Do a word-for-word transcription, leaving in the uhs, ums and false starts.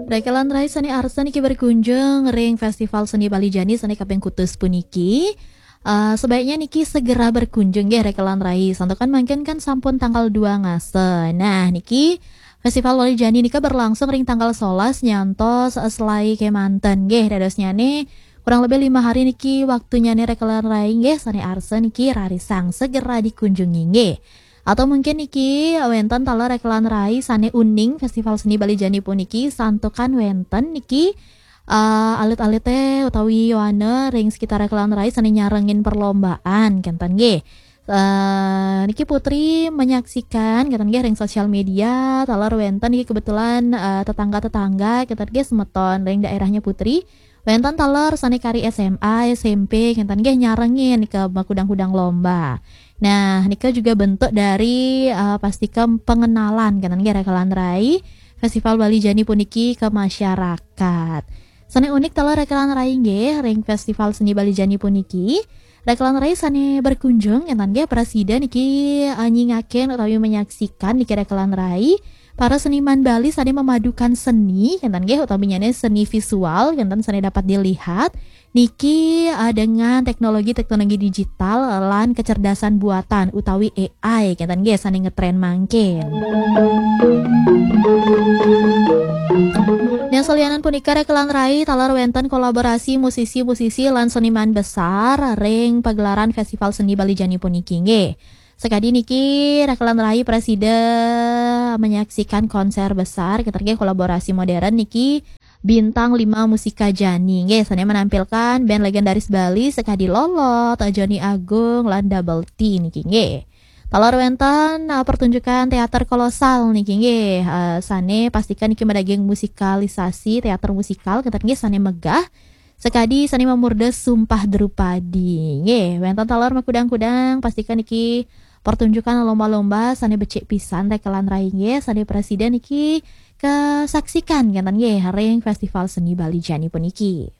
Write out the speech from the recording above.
Rekelan rai sane arsa niki berkunjung ring Festival Seni Bali Jani sane kaping kutus puniki. Eh, sebaiknya niki segera berkunjung nggih rekelan rai. Santukan mangkin kan sampun tanggal dua ngasa. Nah, niki Festival Bali Jani nika berlangsung ring tanggal solas nyantos selai kemanten nggih. Dadosnyane kurang lebih lima hari niki waktunyane rekelan rai nggih, sane arsa niki rarisang segera dikunjungi nggih. Atau mungkin niki wenten taler rekelan rai sane uning Festival Seni Bali Jani puniki, santukan wenten niki eh, alit-alite utawi yowana ring sekitar rekelan rai sane nyarengin perlombaan kenten nggih. Eh, niki Putri menyaksikan kenten nggih ring sosial media taler wenten niki kebetulan eh, tetangga-tetangga kenten nggih semeton ring daerahnya Putri. Wenten taler sane kari S M A, S M P kenten nggih nyarengin ke makudang-kudang lomba. Nah, nika juga bentuk dari eh, pastika pengenalan kenten nggih rekelan rai Festival Bali Jani puniki ke masyarakat. Sane unik taler rekelan rai nggih ring Festival Seni Bali Jani puniki. Rekelan rai sane berkunjung kenten nggih prasida niki eh, nyingakin utawi menyaksikan niki rekelan rai para seniman Bali sane memadukan seni kenten nggih, utaminyane seni visual kenten sane dapat dilihat niki eh, dengan teknologi-teknologi digital lan kecerdasan buatan utawi A I kenten nggih sane ngetren mangkin. Nah, salianan punika rekelan rai taler wenten kolaborasi musisi-musisi lan seniman besar ring pagelaran Festival Seni Bali Jani puniki nggih. Sekadi niki rekelan rai prasida menyaksikan konser besar kenten nggih kolaborasi modern niki Bintang Lima Musika Jani nggih, sane menampilkan band legendaris Bali sekadi Lolot, Joni Agung lan Double T niki nggih. Taler wenten eh, pertunjukan teater kolosal niki nggih, eh, sane pastika niki madaging musikalisasi teater musikal kenten nggih sane megah. Sekadi sane mamurda Sumpah Drupadi nggih. Wenten taler makudang-kudang pastika niki pertunjukan lomba-lomba sane becik pisan rekelan rai nggih, sane prasida niki kesaksikan kenten nggih ring Festival Seni Bali Jani puniki.